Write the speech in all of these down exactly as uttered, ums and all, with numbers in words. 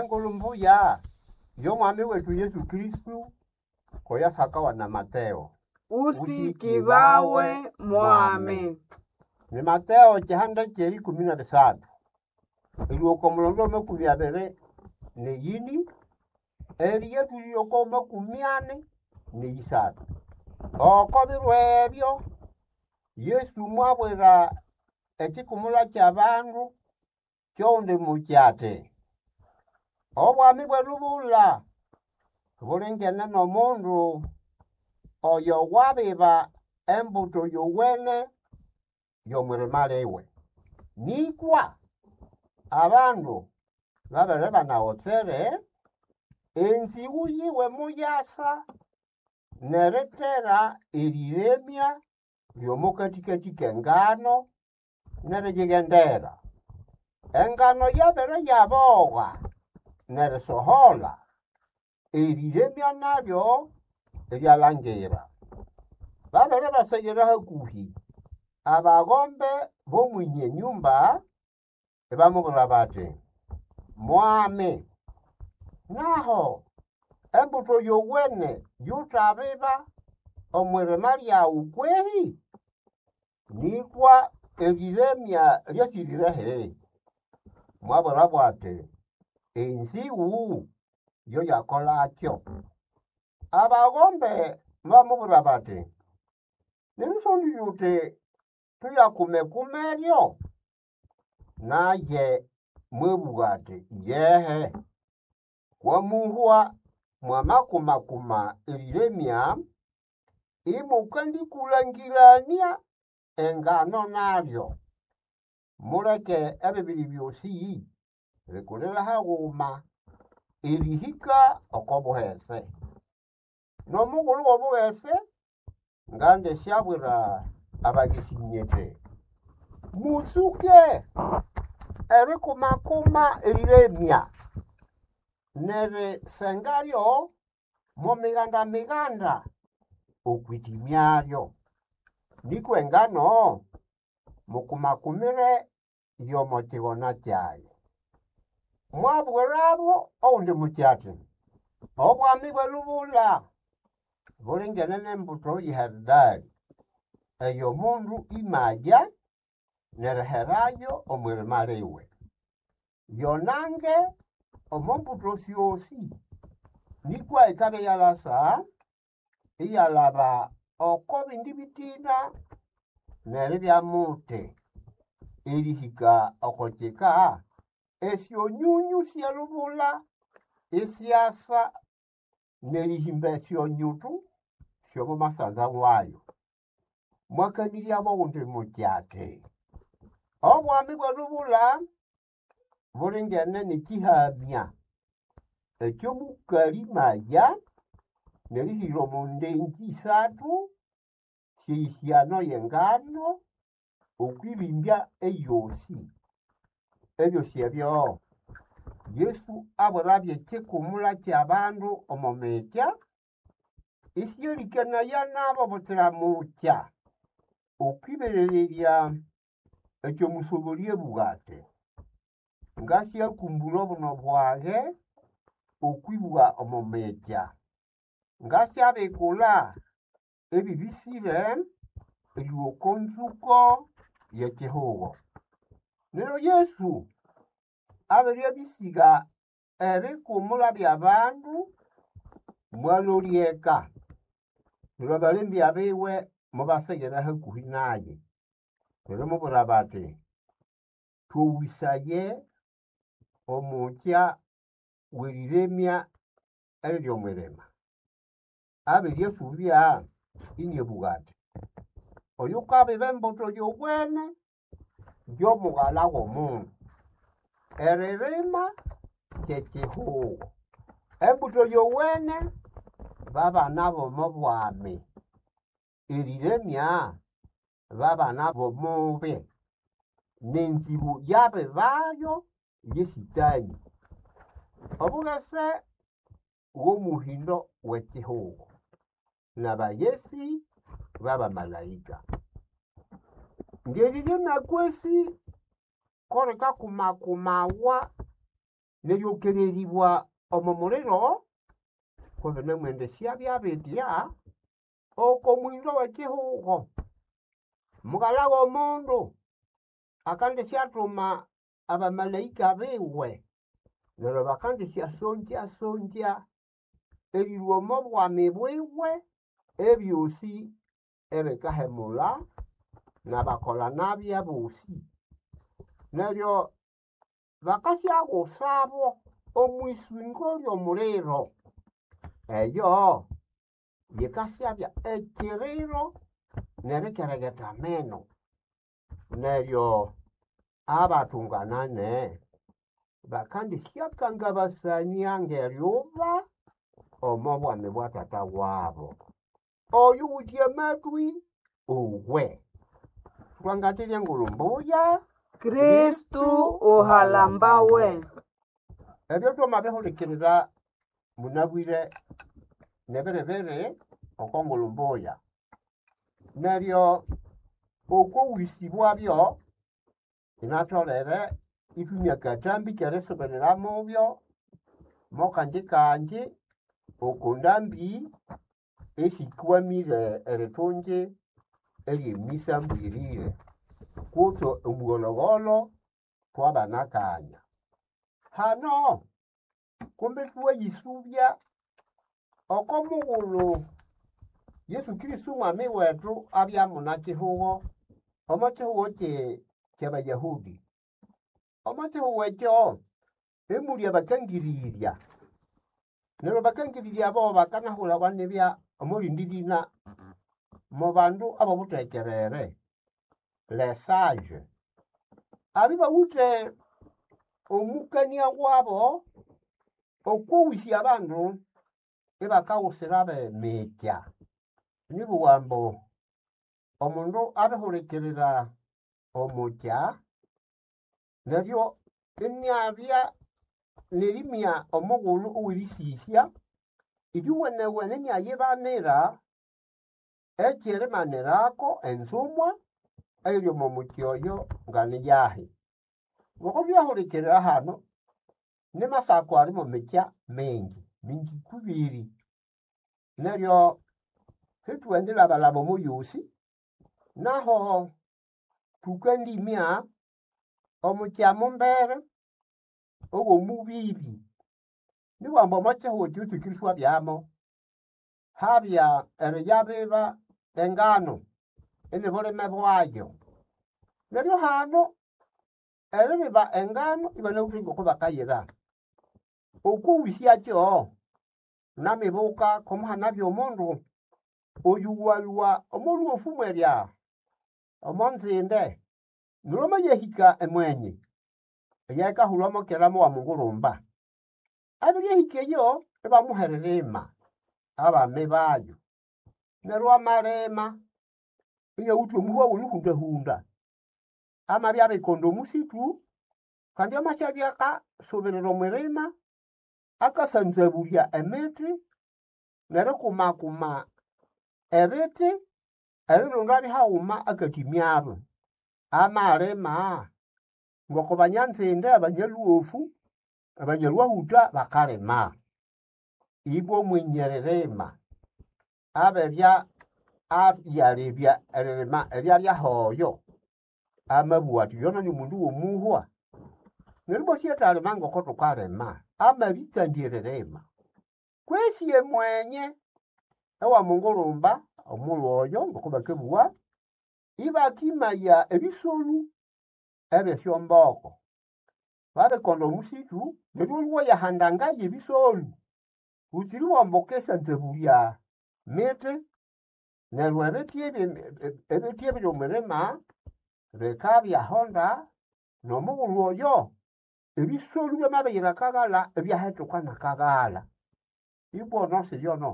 Engulu mbuya y'omwami wetu Yesu Kristo koyasakawa na Mateo. Usikibawe mwami. Ni Mateo kihanda ky'erikumi na bisathu erihika omulondo makumi abiri n'eyini eriyatulire oko makumi ani n'eyisathu. Oko biro ebyo Yesu mwabwira ekikumula ky'abandu ky'ogundi mukyi ati, obwami bw'erubula bulingene n'omundu oyo wabiba embuto yowene y'omwirima liwe. Nĩkwa abandu babere banagotsere, enzĩgũ yiwe muyasa n'erithera erĩremya ly'omo kathikathi k'engano n'eriyighendera. Engano yabere yabogha n'erisohola, erĩremya nalyo iryalangira. Babere baseghera hakũhĩ, abagombe b'omwenye nyumba ibamubwira bati, Mwami, naho embuto yowene yutabiba omw'irima lyawu kwehĩ? Nĩkwa erĩremya lyasĩrĩrehi? Mwabwirabo ati, enzĩgũ yoyakolakyo. Abagombe mobamubwira bati, Nĩrĩsondĩ uti tuyakume-kumeryo? Naye mwabũga ati, Iyehe, kwamuhwa mwamakuma-kuma erĩremya, ĩmũkandĩkũlangĩranĩa engano nalyo. Muleke ebibiri byosĩ bikulire haguma erĩhĩka oko buhese. N'omugulu w'obughese ngandisyabwira abaghesi nyithi, mũtsũke erikumakuma erĩremya n'erisengalyo mo miganda-miganda okw'itimyalyo. Nĩkwa engano mukumakumire y'omo kigona kyayo. Mwabwirabo ogundi mukyi ati, obwami bw'erubula bulingene n'embuto y'eharidali ey'omundu imaya n'eriherayo omw'irima liwe. Yonange omo mbuto syosi, nĩkwa ikabya iyalasa iyalaba oko bindi bitina n'eribya muti, erĩhĩka oko kika esyonyonyũ sy'erubula isyasa n'erĩhĩmba esyonyutu sy'omo masanza wayo. Mwakanĩryabo ogundi mukyi ati, obwami bw'erubula bulingene n'ekĩhamya eky'omukalĩ maya n'erihĩra omo ndengĩ isathu sy'eyĩsyano y'engano okw'ibimbya eyosi. Ebyosi ebyo Yesu abwirabyo ekikumula ky'abandu omo mikya, ĩsĩyalĩkanaya nabo butsira mukya, okw'ĩberererya ekyo mũsobolĩ abũga ati, ngasyakumbũla obuno bwage okw'ĩbũga omo mikya, ngasyabikula ebĩbĩsĩre erĩlũa oko nzũko y'ekihugo. Neryo Yesu abere abĩsĩga ebikumula by'abandu, mwalolya eka. Neryo abalembya biwe mobaseghera hakũhĩ naye, nerimubwira bati, Tũgũsaye omukya w'erĩremya eriri omw'irima. Abere asũbya iniabũga ati, oyukabiba embuto yowene yo mughala w'omundu. Eririma ky'ekihugo. Embuto yowene babana b'omo bwami, erĩremya babana b'omubi, n'enzĩgũ yabibayo ye Sĩtanĩ. Obughese bw'omuhĩndo w'ekihugo, n'abaghesi b'abamalaĩka. Ng'eriremya kwesi ko likakumakumawa Neryokereribwa omo muliro kubinemwendesya byabitya oko mwindo w'ekihugo. Mughala w'omundu akandisyathuma abamalaika biwe neryo bakandisyasongyasongya erilhwa omo bwami bwiwe ebyosi ebikahemulha n'abakolha-nabi abosi. Neryo bakasyagusabo omwisingo ly'omuliro. Eyo yikasyabya ekiriro n'erikeregeta ameno. Neryo abatunganane bakandisyakangabasania ng'eryuba omo bwami bwa Tata wabo. Oyuwithe amatwi owe. Twangathirya engulhu mbuya. Kristu uhalambawe. Ebyo twamabihulikirira munabwire nebiribiri oko ngulhu mbuya. Neryo okwa bwabyo inatholere ithumya akathambi k'erisubirira mubyo mo kanji kanji oko ndambi esikwamire erithungi ery'emisa mbwirire kutse omughologholo thwabanakanya. Hano kumbi thwayisubya oko mughulhu Yesu Kristo mwami wethu abya munakihugho omo kihugho kye ky'Abayahudi. Omo kihugho ekyo emuli abakangirirya. Neryo abakangirirya abo bakanahulhawa nibya omo rindi lina mo bandu ab'obuthekerere, les sages. Abya ibawithe omukania wabo okw'owisya abandu ibakaghusira b'emikya. Nibugha ambu omundu abihulikirira omukya neryo iniabya n'erimya omughulhu ow'erisisya iyuwenewene iniayibanira eky'erimanirako enzumwa eyiri omo mukya oyo nganiyahi. Ngoko thulyahulikirira hano ni Masako ali mo mikya mingi, mingi kubiri. Neryo sithuwendilhabalhaba omo yosi naho thukandimya omukya mumbere ow'omubibi. Nibugha ambu omo kihugho ekyo Yesu Kristo abyamo habya eriyabiba engano ini bulime bwayo. Neryo hano eribiba engano ibanawithe ngoko bakayira. Okwiwisyakyo namibuka komuhanabya omundu oyuwalhwa omo lhuofu mwerya omo nzinde neryo amayahika emwenyi eyayikahulhwa mo kera mowa Mungurumba. Abiryahika eyo ibamuha eririma abami bayo. Neryo amalima inawithe omuhwa ow'erihundahunda. Amabya abikonda omusithu kandi amasyabya akasubirira omwirima akasanzabulya emithi n'erikumakuma ebithi erirondabyo haghuma akatimyabyo. Amalima ngoko banyanzinde, abanyalhuofu, abanyalhwahutha bakalima. Ibwa omwenyi eririma abirya ayalebya eririma eryalyahoyo amabugha athi yono ni mundu w'omuhwa. Neryo ibwa syathalima ngoko thukalima, amabitsandya eririma. Kwesi emwenye ewa Mungurumba omughulhu oyo ngoko bakabugha, ibakimaya ebisolu eby'esyomboko. Babikonda omusithu neryo olhwa wayahandangayo ebisolu butsira ibwamba wukasanzabulya mithi neryo ebithi ebi ebithi ebiri omwirima bikabyahonda n'omughulhu oyo ebisolu byamabiyira akaghalha ibyahethuka n'akaghalha. Ibwa ono siyono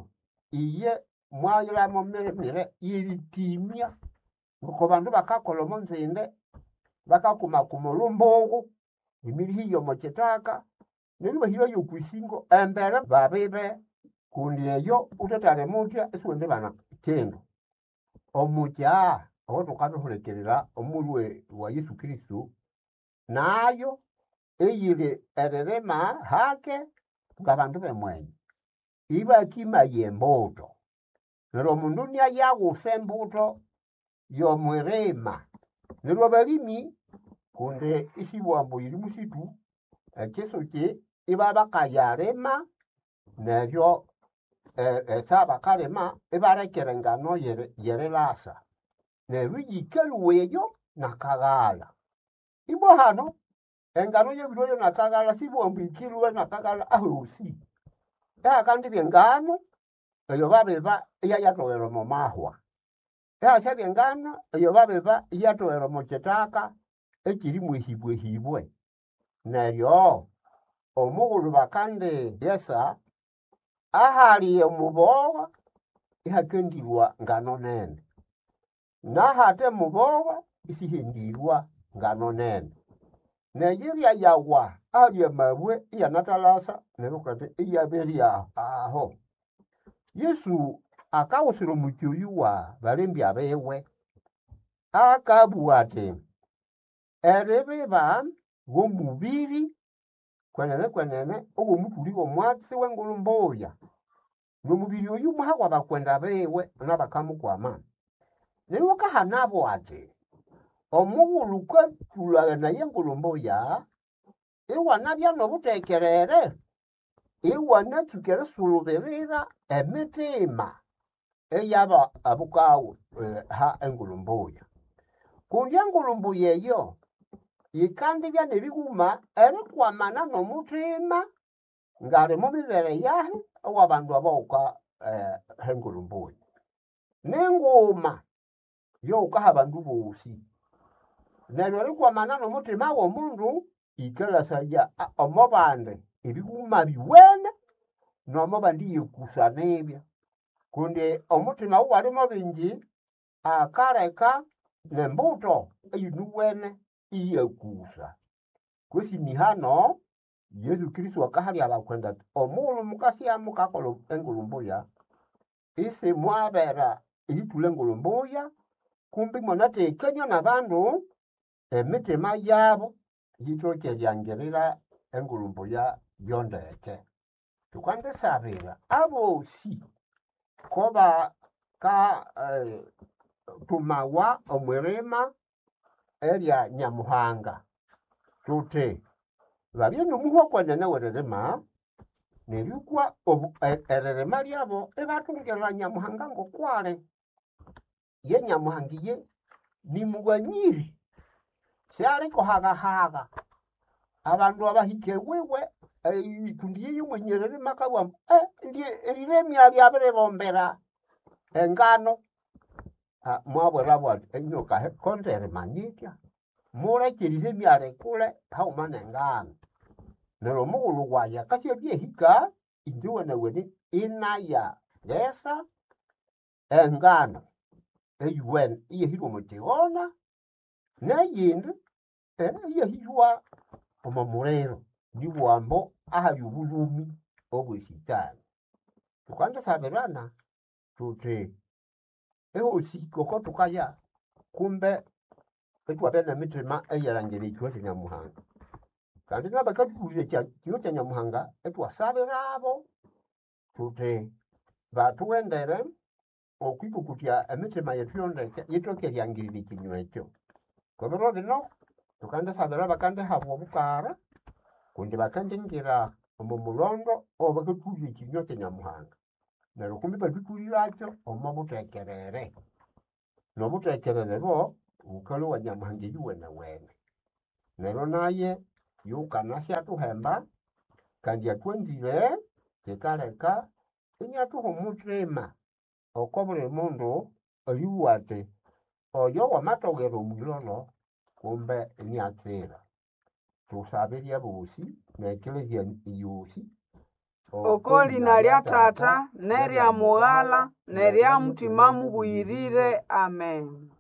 iye mwayilhamo mirimire y'eritimya ngoko bandu bakakolha omo nzinde bakakumakuma olhumbughu emirihi y'omo kithaka neryo ibahirayo okwisingo embere babibe kundi eyo wuthethalima wuthya isiwendibana kindu. Omukya owathukabihulikirira omulhwe wa Yesu Kristo nayo Eyiri eririma hake ng'abandu b'emwenye ibakimaya embuto. Neryo omundu iniayagusa embuto y'omwirima. Neryo abalimi kundi isibugha ambu yiri musitu, ekisuki ibabakayalima neryo esaha bakalima ibalekera engano y'erilasa. Neryo iyikalhwa eyo n'akaghalha. Ibwa hano engano yabiryoyo n'akaghalha sibugha ambu yikilhwa n'akaghalha ahosi. Ihakandibya engano eyo babiba iyayatogera omo mahwa. Ihasyabya engano eyo babiba iyatogera omo kithaka ekiri mwehibwehibwe. Neryo omughulhu bakandighesa ahali omubogha ihakendirwa ngano nene, n'ahathe mubogha isihendirwa ngano nene. Neyirya yawa ahali amabwe iyanathalasa neryo kandi iyabirya aho. Yesu akawusira omuki oyu wa balembya biwe, akabugha athi eribiba w'omubiri kwenene kwenene ow'omuthuli w'omwatsi w'engulhu mbuya. N'omubiri oyu mwahawa abakwenda biwe n'abakamukwama. Neryo akahanabo athi omughulhu wukathulhaghania engulhu mbuya, iwanabya n'obuthekerere, iwanatsuka erisulubirira emitima eyaba abukawu ha engulhu mbuya. Kundi engulhu mbuya eyo yikandibya n'ebighuma erikwamana n'omuthima ngali mumibere yahi ow'abandu abawuka ha engulhu mbuya. Ninguma yowukaha abandu bosi. Neryo erikwamana n'omuthima w'omundu yikalasaya omo bandi ebighuma biwene n'omo bandi iyekusa nibya. Kundi omuthima owalimo bingi akaleka n'embuto eyinuwene iyakusa. Kwesi nihano Yesu Kristo akahalya abakwenda athi omughulhu mukasya mukakolha engulhu mbuya, isimwabera erithulha engulhu mbuya, kumbi imwanathekania n'abandu emitima yabo yithoke eryangirira engulhu mbuya yo ndeke. Thukandisabira abosi kobaka thumawa omwirima erya Nyamuhanga thuthi babye n'omuhwa kwenene w'eririma nerikwa eririma lyabo ibathungirira Nyamuhanga ng'okwali. Ye Nyamuhanga iye nimughanyiri, syalikuhagahaga. Abandu abahika ewiwe kundi iye mwenye eririma akabugha ambu eriremya lyabiribombera engano. Mwabwirabo athi enyoka konderimanyitya, muleke eriremya likule haghuma n'engano. Neryo omughulhu wayi akasya abyahika, inje wenewene inayaghesa engano eyuwene iyahirwa omo kighona n'eyindi iyahirwa omo muliro. Nibugha ambu ahali obulhumi obw'esitani. Thukandisabirana thuthi ehosi ngoko thukaya kumbe ithwabya n'emitima eyerilhangira ekinywa kya Nyamuhanga. Kandi n'abakathubulirirya ekinywa kya Nyamuhanga ithwasabirabo thuthi bathughendere okwikokotya emitima yethu yo ndeke yithoke eryangirira ekinywa ekyo. Kw'ebiro bino thukandisabira abakandihabwa obukara kundi bakandingira omo mulhondo owabakathubulirya ekinywa kya Nyamuhanga. Neryo kumbi ibathuthulirakyo omo buthekerere. N'obuthekerere obo bukalhwa Nyamuhanga eyuwenewene. Neryo naye yukanasya thuhemba kandi athwanzire kikaleka iniathuha omuthima oko buli mundu eribugha athi oyo wamathogera omwilholo kumbe iniatsira. Thusabirye abosi n'ekelezia yosi Oko lina lya Tata n'erya Mughala n'erya Mutima Mubuyirire. Amen.